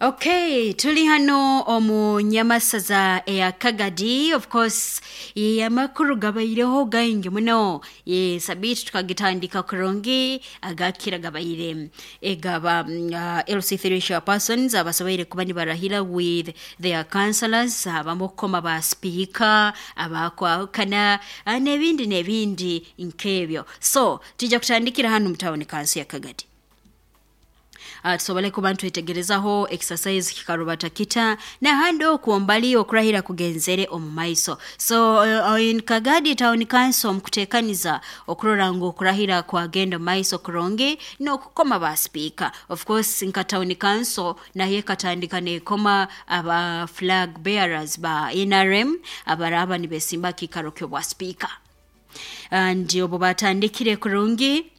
Okay, tuli hano omu nyamasaza eya Kagadi. Of course, amakuru gabaireho gaingi muno. Sabiiti tukagitandika kurungi agakira gabaire egaba LC3 chairpersons abasoboire kuba nibarahira with their councillors, abamu kukoma ba speaker abakwahukana, n'ebindi n'ebindi nk'ebyo. So tujja kutandikira hano mu town council ya Kagadi. Tusobole kuba ntwetegerezaho exercise kikarubata kita nahandi okwo mbali okurahira kugenzere omu maiso. So in Kagadi Town Council mukutekaniza okurora ngu okurahira kwagenda maiso kurungi n'okukoma ba speaker. Of course nka town council nayo ekatandika nekoma aba flag bearers ba NRM abaraba nibesimba kikaro ky'obwa speaker. And obu batandikire kurungi,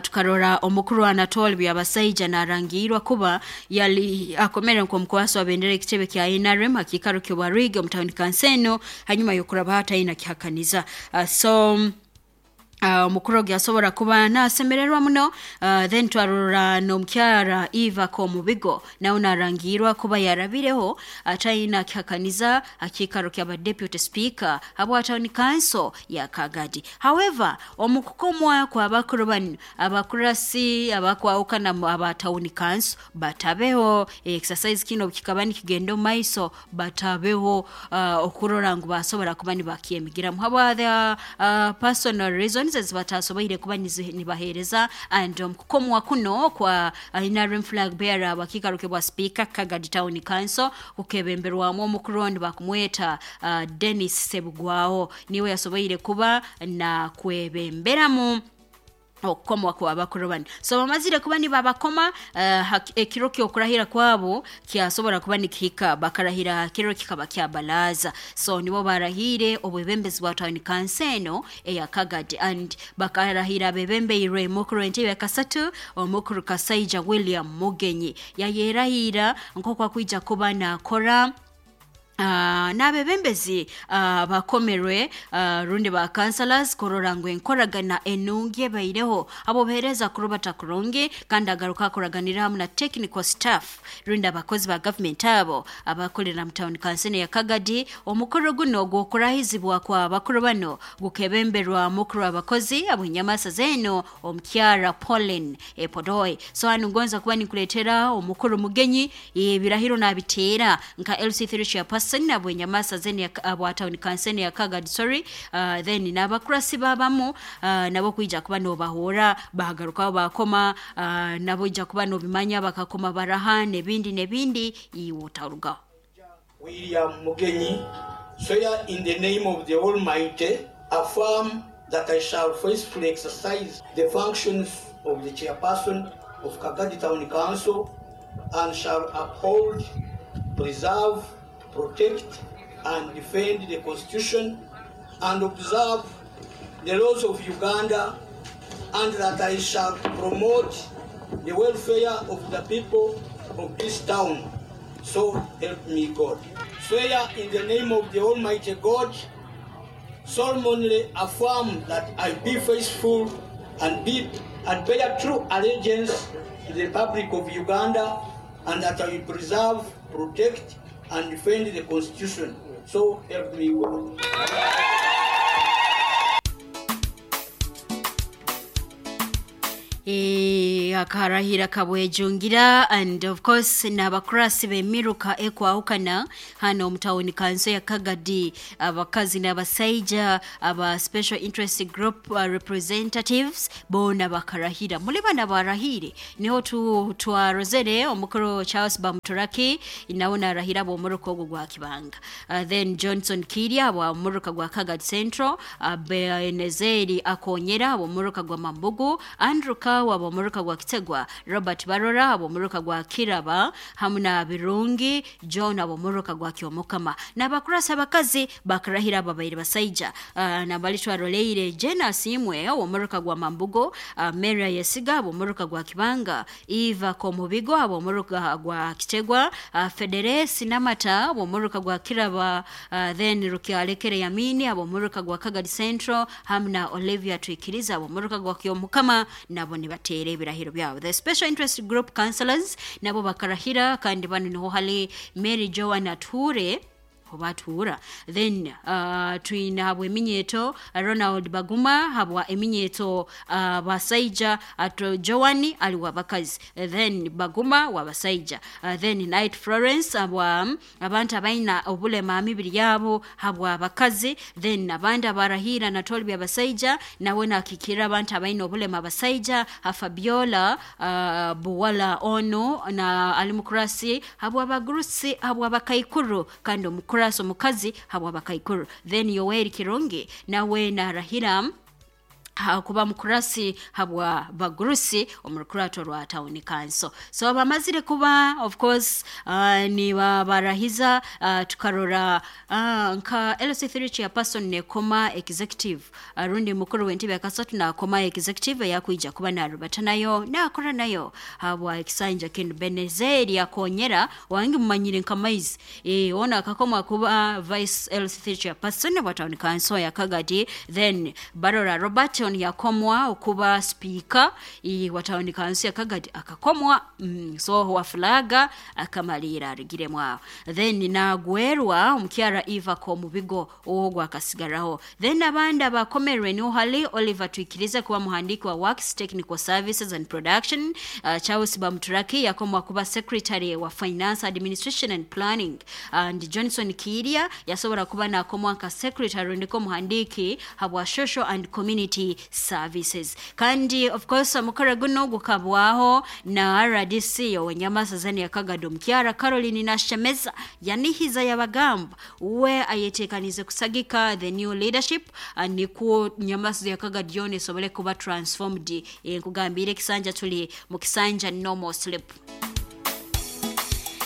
tukarora omukuru Anatole Byabasaija narangirwa kuba yali akomere nk'omukwasi wa bendera ekitebe kya NRM akikaro ky'obwa Rig omu town council eno hanyuma y'okuraba hataina kihakaniza. So omukuru ogu yasobora kuba nasemererwa muno. Then twarora n'omukyara Eva Komubigo nawe narangirwa kuba yarabireho ataina kihakaniza akikaro kyaba deputy speaker habwa town council ya Kagadi. However, omukukomwa kwa bakuru banu abakurasi abakwahukana aba town council batabeho exercise kino kikaba nikigenda omu maiso batabeho, okurora ngu basobora kuba nibakyemigiramu habwa the personal reasons ezibatasoboire kuba nibaheereza. And omukukomwa kuno kwa NRM flag bearer abakikaro bwa speaker Kagadi Town Council kukebemberwamu omukuru ondi bakumweta Dennis Sebugwaho, niwe yasoboire kuba na kwebemberamu okukomwa kwa bakuru bano. So bamazire kuba nibabakoma, ekiro ky'okurahira kwabo kyasobora kuba nikihika, bakarahira kiro kikaba kyabalaza. So nibo barahire obwebembezi bwa town council eno eya Kagadi, and bakarahira bebembeirwe mukuru w'entebe kasatu omukuru Kasaija William Mugenyi yayerahira nk'oku akwija kuba nakora n'abebembezi bakomerwe, rundi ba councillors kurora ngu enkoragana enungi ebaireho abo baheereza kurubata kurungi, kandi agaruka akoraganira hamu na technical staff rundi abakozi ba government abo abakorera mu town council ya Kagadi. Omukoro guno gw'okurahizibwa kwa bakuru bano gukebemberwa mukuru abakozi ab'enyamasa zeno omukyara Pauline Epodoi. So hano ngonza kuba nikuletera omukuru Mugenyi ebirahiro nabiteera nka LC3 chairperson abwenyamasa zeni abwa town council ya Kagadi, sorry, then n'abakurasi babamu, nabo kwija kuba nobahora bagarukaho bakoma, nabo ija kuba nobimanya bakakoma baraha n'ebindi n'ebindi iwe otarugaho. William Mugenyi, swear in the name of the Almighty, affirm that I shall faithfully exercise the functions of the chairperson of Kagadi Town Council and shall uphold, preserve, protect and defend the Constitution and observe the laws of Uganda, and that I shall promote the welfare of the people of this town. So help me God. Swear in the name of the Almighty God, solemnly affirm that I be faithful and bear true allegiance to the Republic of Uganda, and that I will preserve, protect, and defend the Constitution. So help me God. Akarahira kabwejungira, and of course n'abakurasi b'emiruka ekwahukana hano mu town council ya Kagadi, abakazi n'abasaija aba special interest group representatives bona bakarahira. Muri bana barahire niho twarozere omukuru Charles Bamuturaki nawe narahira b'omuruka ogwo gwa Kibanga, then Johnson Kiria wa muruka gwa Kagadi Central, Benezeri Akonyera b'omuruka gwa Mambugu, Andrew Kawa b'omuruka gwa Kitegwa, Robert Barora b'omuruka gwa Kiraba, hamu na Birungi John b'omuruka gwa Kyomukama. N'abakurasi abakazi bakarahira ababaire basaija, nabali twaroleire Jena Simwe w'omuruka gwa Mambugo, Mary Yesiga b'omuruka gwa Kibanga, Eva Komubigo b'omuruka gwa Kitegwa, Federesi Namata b'omuruka gwa Kiraba, then Rukyalekere Yamini b'omuruka gwa Kagadi Central, hamu na Olivia Twikiriza b'omuruka gwa Kyomukama, nabo nibateera ebirahiro. Ebiragiro byabo. The special interest group councillors nabo bakarahira, kandi bano niho hali Mary Joan Ature oba. Then twina habwa eminyeto Ronald Baguma habwa eminyeto basaija, ato Joan ali wabakazi, then Baguma wabasaija, then Night Florence habwa abantu abaina obulema mibiri yabo habwa abakazi, then abandi abarahira natoli byabasaija nawe nakikira abantu abaina obulema abasaija, Fabiola Buwala ono na ali mukurasi habwa abagurusi habwa abakaikuru, kandi omukurasi omukazi habwa abakaikuru. Then Yoweri Kirungi nawe narahira kuba mukurasi habwa bagurusi omurukurato rwa town council. So bamazire kuba of course ni barahiza, tukarora nka LC3 chairperson nekoma executive, rundi mukuru w'entebe yakasatu nakoma executive yakwija kuba narubata nayo nakora nayo habwa ekisanja kinu. Benezeri yakonyera wangi mumanyire nka maizi ona akakoma kuba vice LC3 chairperson wa town council ya Kagadi. Then Barora Robert yakomwa okuba speaker wa town council ya Kagadi akakomwa, so wa flaga akamalira arigiremu aho. Then nagwerwa omukyara Eva ko mubigo ogwo akasigaraho. Then abandi abakomerwe ni hali Oliver Twikirize kuba muhandiki wa Works Technical Services and Production, Charles Bamuturaki yakomwa kuba secretary wa Finance Administration and Planning, and Johnson Kiria yasobora kuba nakomwa nka secretary ndiko muhandiki habwa Social and Community Services. Kandi of course omukora guno gukabwaho na RDC owenyamasazani ya Kagadi omukyara Caroline Nashemeza yanihiza yabagamba we ayetekanize kusagika the new leadership, nikwo Nyamasaza ya Kagadi yona esobole kuba transformed. Nkugambire ekisanja tuli mu kisanja no more sleep.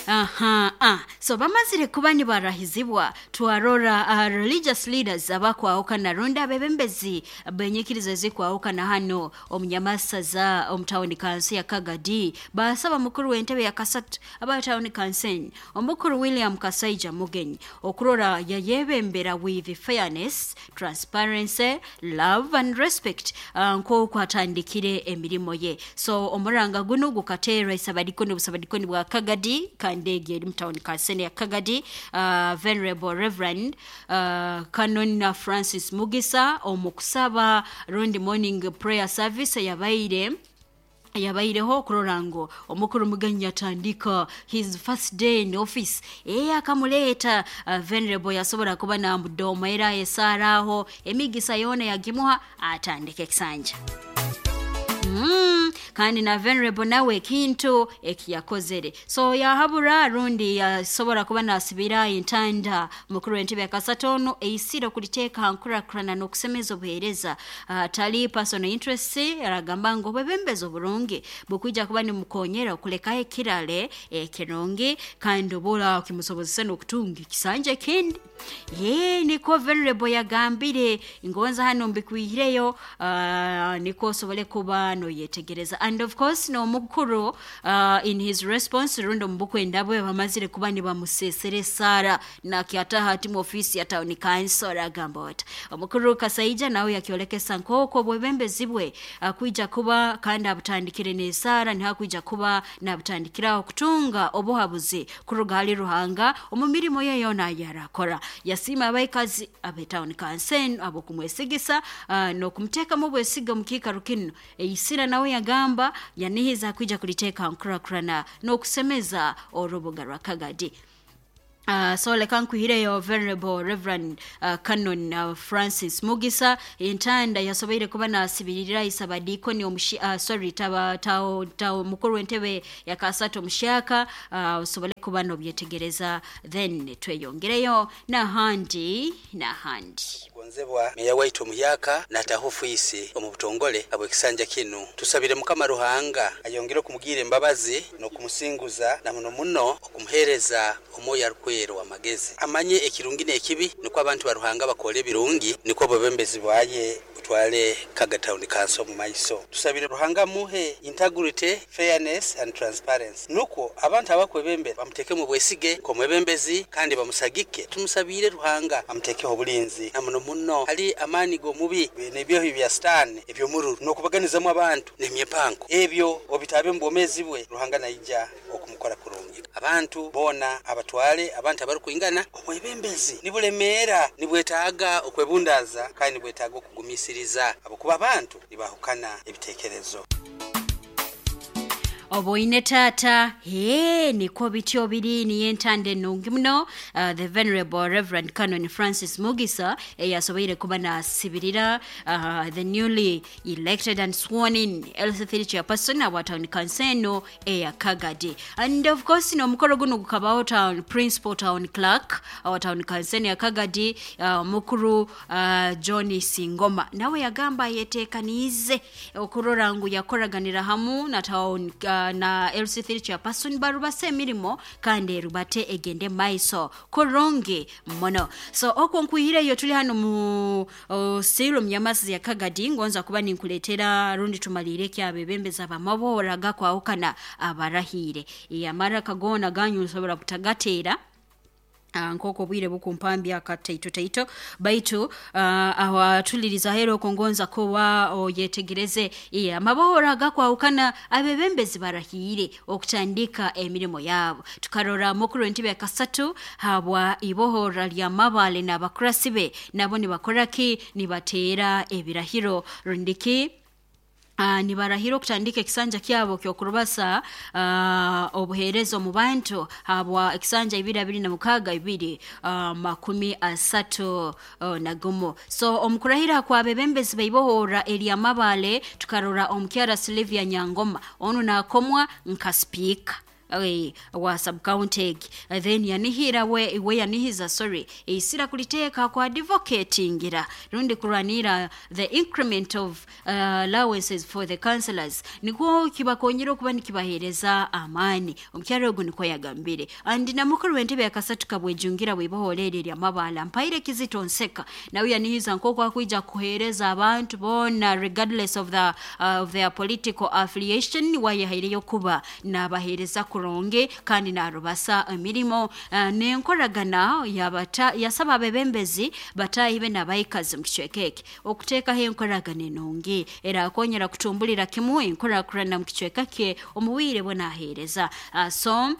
Aha. So bamazire kuba nibarahizibwa, twarora religious leaders abakwahukana rundi abebembezi benyikiriza ezikwahukana hano omunyamasaza omu town council ya Kagadi basaba mukuru w'entebe ya kasatu aba town council omukuru William Kasaija Mugenyi okurora yayebembera with fairness, transparency, love and respect, nk'oku atandikire emirimo ye. So omuranga guno gukateerwa isabadikoni obusabadikoni bwa Kagadi kandi eri mu town council ya Kagadi, Venerable Reverend Canon Francis Mugisa omukusaba rundi morning prayer service yabaireho okurora ngo omukuru Mugenyi yatandika his first day in office, akamuleeta Venerable yasobora kuba namudoma era esaaraho emigisa yona yagimuha atandika ekisanja. Kandi na Venerable nawe ekintu ekiyakozere. So yahabura rundi yasobora kuba nasibira entanda mukuru w'entebe ya kasatono eisiro kuliteeka nkurakurana n'okusemeza obuheereza, tali personal interest, aragamba ngu obwebembezi oburungi bukwija kuba nimukonyera okulekaho ekirale ekirungi kandi obura kimusobozesa n'okutunga ekisanja ekindi. Ye niko Venerable yagambire ngonza hano mbikwihireyo, niko osobole kuba noyetegereza. And of course no mukuru in his response rundo mbukwenda bwe bamazire kuba nibamusesere sara na kiataha ati mu ofisi ya town council agamba ati omukuru Kasaija nawe yakyolekesa nkoko bwebembezi bwe kwija kuba kandi abutandikire n'esara ntihakwija kuba nabutandikiraho kutunga obuhabuzi kuruga hali Ruhanga omu mirimo ye yona yarakora. Yasima abaikazi abe town council abo kumwesigisa n'okumuteekamu obwesiga mu kiikaro kino. Eisira nawe yagamba yanihiza kwija kuliteeka nkurakurana n'okusemeza orubuga rwa Kagadi. So leka nkuhireyo Venerable Reverend Canon Francis Mugisa entanda yasoboire kuba nasibirira isabadikoni tao mukuru w'entebe ya kasatu omushaka, osobole kuba nobyetegereza, then tweyongereyo nahandi. Gonzebwa meya waitu omuyaka nataho ofisi omu butongole abwekisanja kinu. Tusabire Mukama Ruhanga ayongere okumugira embabazi n'okumusinguza na muno muno okumuhereza omwoyo arukwera w'amagezi, amanye ekirungi n'ekibi, nikwo abantu ba Ruhanga bakora ebirungi, nikwo obwebembezi bwaye Okutwale Kagadi Town Council mu maiso. Tusabire Ruhanga muhe integrity, fairness and transparency, nukwo abantu abakwebembera bamutekemu bwesige nk'omwebembezi kandi bamusagike. Tumusabire Ruhanga amutekeho obulinzi na muno muno hali amaani g'omubi n'ebyohi bya sitaani eby'omururu n'okubaganizamu abantu n'emyepanko ebyo obitabe mu bwomezi bwe. Ruhanga naija okumukora kurungi. Abantu boona abatwale abantu abarukwingana. Obwebembezi nibulemeera, nibwetaaga okwebundaaza kandi nibwetaaga okugumisiriza ahabwokuba abantu nibahukana ebiteekerezo. Oboine taata he nikwo bityo biri. Niyo entanda enungi muno, the Venerable Reverend Canon Francis Mugisa eyasoboire kuba nasibirira the newly elected and sworn in LC3 chairperson awa town council eno eya Kagadi. And of course n'omukoro guno gukabaho town principal town clerk awa town council eno ya Kagadi, mukuru John Singoma, nawe yagamba ayetekaniize okurora ngu yakoraganira hamu na town na LC3 chairperson barubase emirimo kandi erubate egende maiso kurungi muno. So okwo nkwihireyo tuli hano mu siru myamasi ya Kagadi, ngonza kuba ninkuletera rundi tumalire ekyabebembeza bamabora gakwahukana abarahire yamara kagona ganyu nsobora kutagateera nk'oku obwire bukumpambya akataito taito, baitu aho atuliriza hera okwo ngonza kuba oyetegereze amabohoro agakwahukana abebembezi barahiire okutandika emirimo yaabo. Tukarora mukuru entebe ya kasatu habwa ibohora lya Mabale n'abakurasi be nabo nibakora ki? Nibateera ebirahiro rundiki nibarahira okutandika ekisanja kyabo ky'okurubasa obuheereza omu bantu habwa ekisanja 2026 2031. So omukurahira kwabebembezi baibohora erya Mabale, tukarora omukyara Sylvia Nyangoma onu nakomwa nka sipiika wa subcounty egi. Then yanihira we yanihiza, sorry, isira kuliteeka kwa advocatingira rundi kurwanira the increment of allowances for the councillors, nikwo kibakonyera okuba nikibaheereza amaani. Omukyaro ogu nikwo yagambire. And na mukuru w'entebe yakasatu kabwejungira bwibohora eri erya Mabala mpaire Kizito Nseka nawe yanihiza nk'oku akwija kuheereza abantu boona regardless of their political affiliation, wayehaireyo kuba nabaheereza kurungi kandi narubasa emirimo n'enkoragana. Yasaba abebembezi bataahi be n'abaikazi mu kicweka eki okuteekaho enkoragana enungi erakonyera kutumbulira kimu enkorakurana mu kicweka kye omu bwire bwe naheereza. So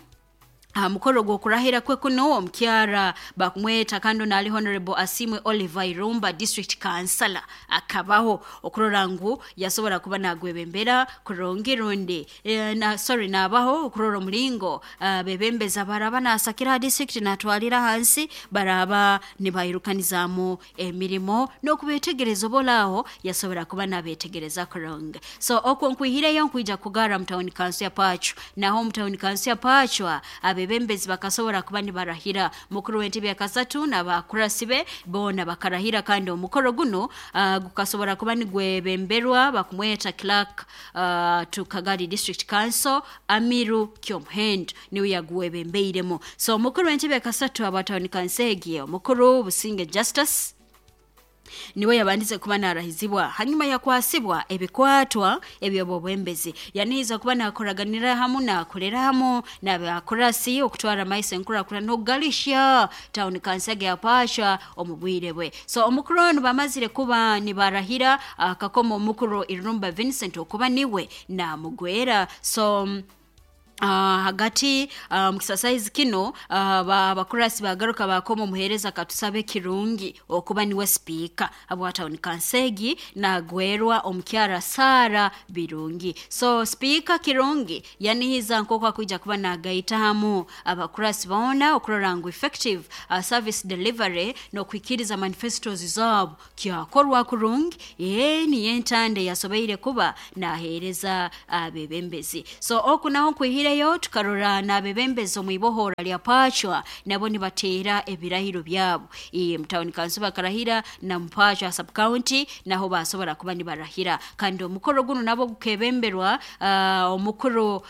aha mukoro gw'okurahira kwe kuno, omukyara bakumweta kandi naali Honorable Asimwe Oliver Irumba, district councillor, akabaho okurora ngu yasobora kuba nagwebembera kurungi rundi na, sorry, nabaho okurora omulingo bebembeza baraba nasakira ha district natwalira hansi baraba nibairukanizamu emirimo n'okubetegereza obolaaho yasobora kuba nabetegereza kurungi. So okwo nkwihireyo nkwija kugara mu town council ya Pachwa. Naho mu town council ya Pachwa abebembezi bakasobora kuba nibarahira. Mukuru w'entebe ya kasatu n'abakurasi be boona bakarahira, kandi omukoro guno gukasobora kuba nigwebemberwa bakumweta clerk to Kagadi District Council Amiru Kyomuhendo, niwe yaguwebembeiremu. So omukuru w'entebe ya kasatu aba town council egi, omukuru Businge Justus, niwe yabandize kuba narahizibwa, hanyuma yakwasibwa ebikwatwa ebyobwembezi. Yanihiza kuba nakoraganira hamu nakolera hamu n'abakurasi okutwara maiso enkurakurana n'okugalisha town council ya Pachwa omu bwire bwe. So omukuru ono bamazire kuba nibarahira, akakoma omukuru Irumba Vincent okuba niwe namugwera. So hagati mu kisasaizi kino abakurasi bagaruka bakoma omuheereza Katusabe Kirungi okuba niwe sipiika habwa town council egi, nagwerwa omukyara Sara Birungi. So sipiika Kirungi yanihiza nk'oku akwija kuba nagaita hamu abakurasi boona okurora ngu effective service delivery n'okuhikiriza manifestos zaabo kyakorwa kurungi. Ye niyo entanda yasoboire kuba naheereza abebembezi. So oku naho nkwihireyo. Tukwihireyo tukarora n'abebembezi omu ibohora lya Pachwa nabo nibateera ebirahiro byabo. Mutawuni kanso bakarahira na Mpachwa sub county naho basobora kuba nibarahira, kandi omukoro guno nabo gukebemberwa omukuru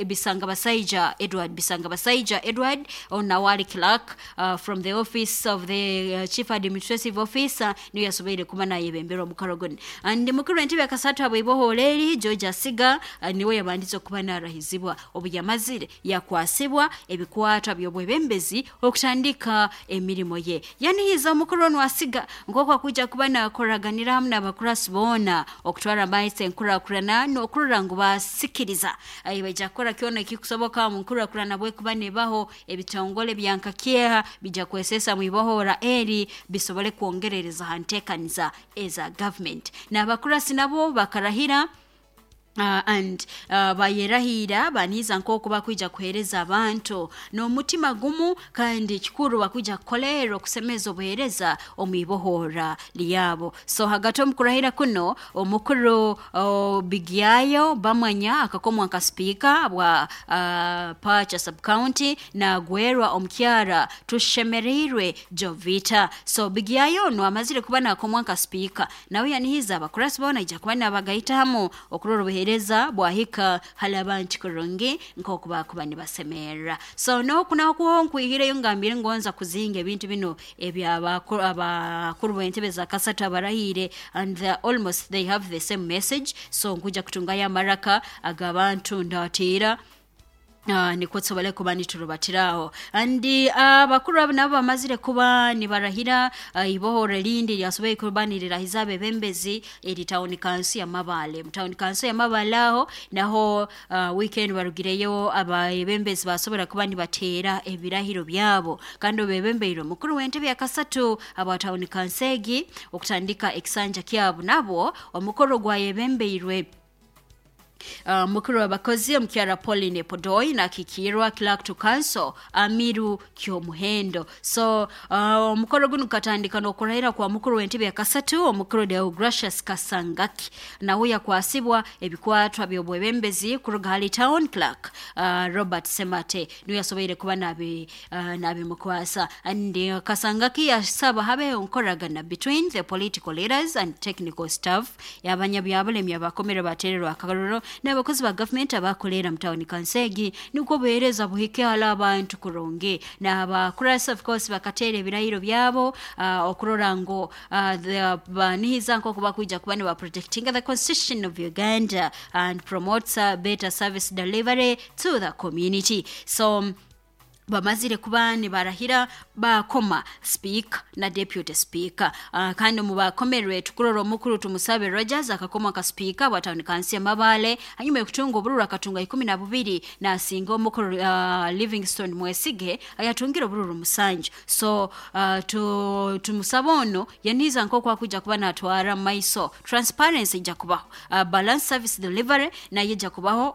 Bisanga Basaija Edward, Bisanga Basaija Edward onawali clerk from the office of the chief administrative officer, niyo yasoboire kuba nayebembera omukoro guno. And mukuru w'entebe yakasatu abw'ibohora George Asiga niwe yabandize okuba narahizibwa. Obu yamazire yakwasibwa ebikwatwa by'obwebembezi okutandika emirimo ye. Yanihiza omukuru onu Asiga nk'oku akuja kuba nakoraganira hamu n'abakurasi boona okutwara amaiso enkurakurana n'okurora ngu basikiriza. Baija kukora kyona ekikusoboka mu nkurakurana bwekuba nebaho ebitongole byankakyeha bija kwesesa mu ibohora eri bisobole kwongerereza ha nteekaniza eza government. N'abakurasi nabo bakarahira and bayerahira baniza nk'oku bakwija kuheereza abantu n'omutima gumu, kandi kikuru bakwija kukolerera okusemeza obuheereza omu ibohora lyabo. So hagati omu kurahira kuno omukuru Bigyayo Bamwanya akakomwa nka sipiika bwa Pacha sub county nagwerwa omukyara Tushemereirwe Jovita. So Bigyayo ono amazire kuba nakomwa nka sipiika, nawe yanihiza abakurasi boona ija kuba nabagaita hamu okurora obuheereza bwahika hali abantu kurungi nk'oku bakuba nibasemerera. So nokunaho nkwihireyo ngambire ngonza kuzinga ebintu bino eby'abakuru b'entebe za kasatu abarahire, and they almost they have the same message. So nkuja kutungayo amaraka ag'abantu ndateera nikwo tusobole kuba niturubatiraho. And abakuru abo nabo bamazire kuba nibarahira ibohoro erindi lyasoboire kuba nirirahiza abebembezi eri tawuni kanso ya Mabale. Mu tawuni kanso ya Mabale aho naho weekend barugireyo abebembezi basobora kuba nibateera ebirahiro byabo, kandi obebembeire omukuru w'entebe ya kasatu aba tawuni kanso egi okutandika ekisanja kyabo nabo omukoro gwayebembeirwe mukuru w'abakozi omukyara Pauline Podoi nakikirwa clerk to council Amiru Kyomuhendo. So omukoro guno gukatandika n'okurahira kwa mukuru w'entebe ya kasatu omukuru Deogracious Kasangaki, nawe yakwasibwa ebikwatwa by'obwebembezi kuruga hali town clerk Robert Semate, niwe yasoboire kuba nabimukwasa. And Kasangaki yasaba habeho enkoragana between the political leaders and technical staff y'abanyabyabulemi abakomere batererwa akaroro n'abakozi ba gavumenti abakolera mu tawuni kansegi, nikwo obuheereza buhike hali abantu kurungi. N'abakurasi of course bakateera ebirahiro byabo okurora ngu banihiza nk'oku bakwija kuba niba protecting the constitution of Uganda and promotes better service delivery to the community. So bamazire kuba nibarahira bakoma speaker na deputy speaker. Kandi mu bakomerwe tukurora omukuru Tumusabe Rogers akakoma ka speaker wa town council Mabale, hanyuma yokutunga obururu akatunga 12 nasinga omukuru Livingstone Mwesige ayatungira obururu 7. So Tumusabe ono yaniza nk'oku akuja kuba natwara maiso transparency ija kubaho, balance service delivery naye ija kubaho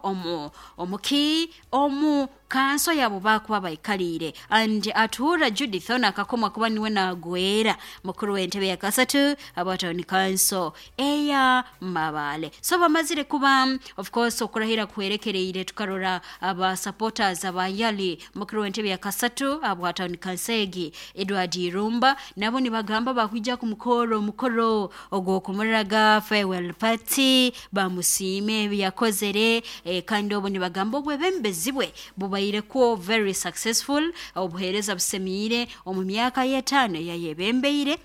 omuki omu kanso yabo bakuba baikalire. And Atuura Judith ono akakomwa kuba niwe nagwera mukuru w'entebe ya kasatu abatawuni kanso eya Mabale. So bamazire kuba of course okurahira kuherekereire tukarora aba supporters abayali mukuru w'entebe ya kasatu abatawuni kanso egi Edward Irumba nabo nibagamba bakwija kumukoro omukoro ogw'okumuraga farewell party bamusiime ebi yakozere, kandi obo nibagamba obwebembezi bwe bubaireko very successful, obuheereza busemiire omu myaka y'etaano eyayebembeire.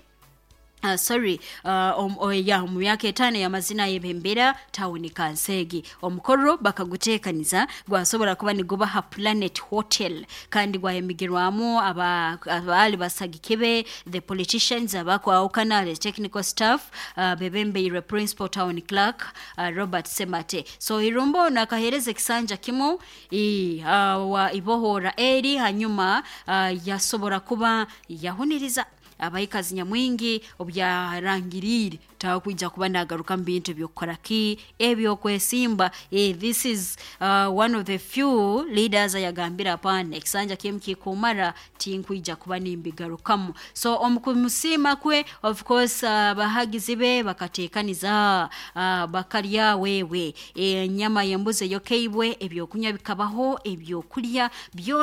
Omu myaka 5 y'amazina yebembera tawuni kansegi. Omukoro bakaguteekaniza gwasobora kuba niguba ha Planet Hotel, kandi gwayemigirwamu abaali basagikibe the politicians abakwawukana the technical staff bebembeirwe principal town clerk Robert Semate. So Irumba ono akaheereza ekisanja kimu wa ibohora eri, hanyuma yasobora kuba yahuniriza Abaikazi nyamwingi obyarangiriire takwija kuba nagaruka mu bintu ebyokukora ki ebyokwesimba. This is one of the few leaders ayagambire, "Apana, ekisanja kimu kikumara, tinkwija kuba nimbigarukamu." So omukumusiima kwe, of course, abahagizi be bakateekaniza, bakalya wewe enyama y'embuzi eyokeibwe, ebyokunywa bikabaho, ebyokulya byona.